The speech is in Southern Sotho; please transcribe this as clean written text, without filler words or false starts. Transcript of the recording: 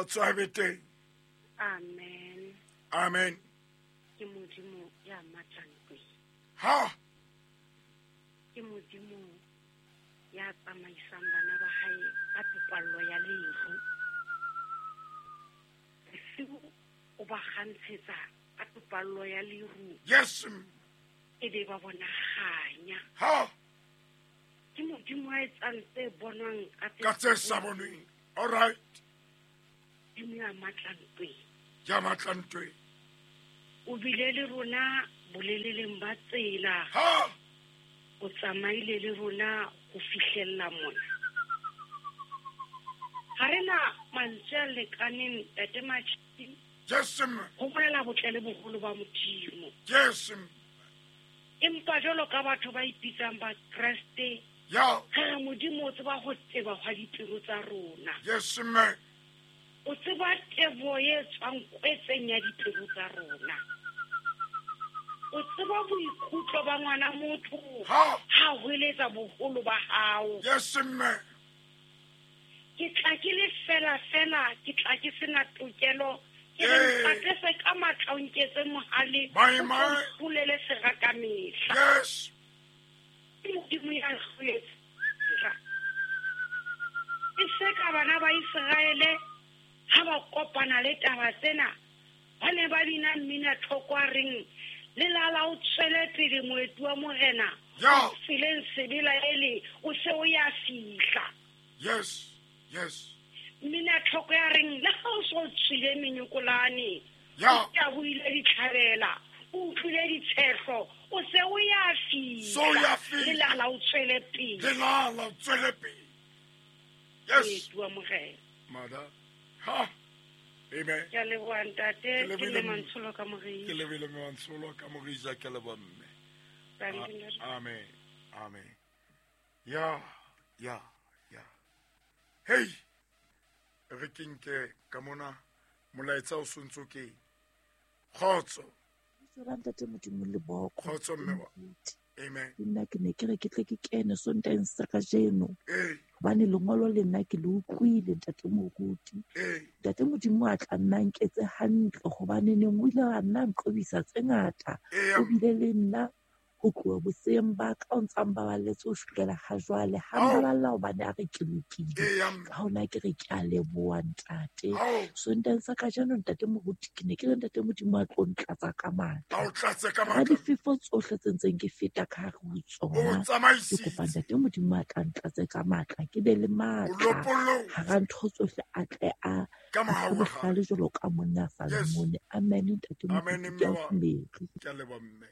Kgotso ha be teng. Amen. Amen. Ke Modimo ya matla ntweng. Ha. Ke Modimo ya tsamaisang bana ba hae ka topallo ya leru. Bosiu o ba kgantshetsa ka topallo ya leru. Yes. E be ba bona kganya. Ha. Ke Modimo a etsang tse bonwang ka tse sa bonweng. All right. Modimo ya matla ntweng. Ya matla ntweng. O bile le rona boleleleng ba tsela. Ha. O tsamaile le rona ho fihlella mona. Ha re na mantswe a lekaneng, Ntate Matjhisi. Yes, ma'am. Ho bolela botle le boholo ba Modimo. Yes, ma'am. Empa jwalo ka batho ba ipitsang ba Kreste, Ya. re re Modimo o tseba ho teba hwa dipelo tsa rona. Yes, ma'am. O tseba tebo e tswang kwetseng ya dipelo tsa rona. O tseba boikutlo ba ngwana motho Ha. ha hweletsa boholo ba hao. Yes, ma'am. Ke tla ke le fela fela, ke tla ke sena tokelo. Ke re Ee. ntate se ka matla o nketse mohale, Mai, o mai. tlo mpulele sera ka mehla. Yes. Ke Modimo ya hloletseng. E se ka bana ba Iseraele ha ba kopana le taba tsena, ba ne ba bina mmina thoko a reng, lelala o tswele pele moeti wa morena, Ya. o tseleng sebela ele, o se o ya fihla. Yes. Yes. Mmina thoko ya reng, le ha o so tswile menyokolane, Ya. o tabohile ditlhabela, o utlwile ditshehlo, o se o ya fihla. So ya fihla. Lelala o tswele pele. Lelala o tswele pele. Yes. Moeti wa morena. Mother. Ha. Amen. Ke a leboha ntate, Ke ke lebohile le mme. Mantsholo ka Morija. Ke lebohile mme Mantsholo ka Morija, ke leboha mme. Thank you, ntate. Amen. Amen. Ya, ya, ya. Hey. Re ke nke ka mona molaetsa o sontso ke kgotso. Tswela ntate Modimo le boko. Kgotso mme wa. Amen. Le nna ke ne ke re ke tle ke kene Sontaheng sa kajeno. Ee. Hobane lengolo le nna ke le utlwile ntate moruti. Ee. Ntate Modimo a tla nna nketse hantle hobane neng o ile a nna nqobisa tse ngata. Ee. O bile le nna ho tloha boseyeng ba ka o ntsa mbaballetse ho fihlela ha jwale. Ha Ao. mbaballa hobane a re ke lokile. Ee, mme. Ka hona ke re ke a leboha ntate. Ao. Sontaheng sa kajeno ntate moruti ke ne ke re ntate Modimo a tlo ntlatsa ka matla. A o tlatse ka Hara matla. difefo tsohle tse ntseng ke feta ka hare ho O tsona. Ke tsamaisitse. kopa ntate Modimo a tla ntlatse ka matla, ke be le O matla. lopollotse. Hara ntho tsohle a tle a Ka mohau wa hae. bohlale jwalo ka monna Yes. Salomone. Amen ntate Amen, moruti, ke a mme wa. dumela. Ke a leboha mme.